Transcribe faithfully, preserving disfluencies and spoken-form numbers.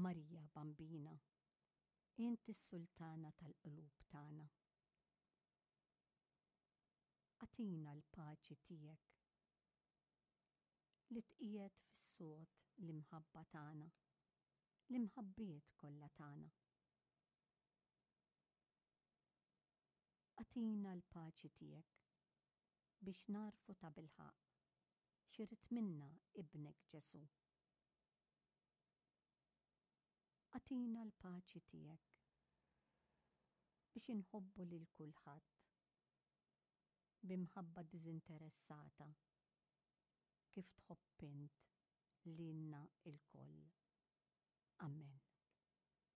Marija Bambina, int is-sultana tal-qlub tagħna. Agħtina l-paċi tiegħek li tqiegħed fis-sod l-imħabba tagħna, l-imħabbiet kollha tagħna. Agħtina l-paċi tiegħek biex nagħrfu tabilħaqq x'irid minna Ibnek Ġesù. Agħtina l-paċi tiegħek biex inħobbu lil kulħadd b'imħabba diżinteressata kif tħobb int lilna lkoll. Amen.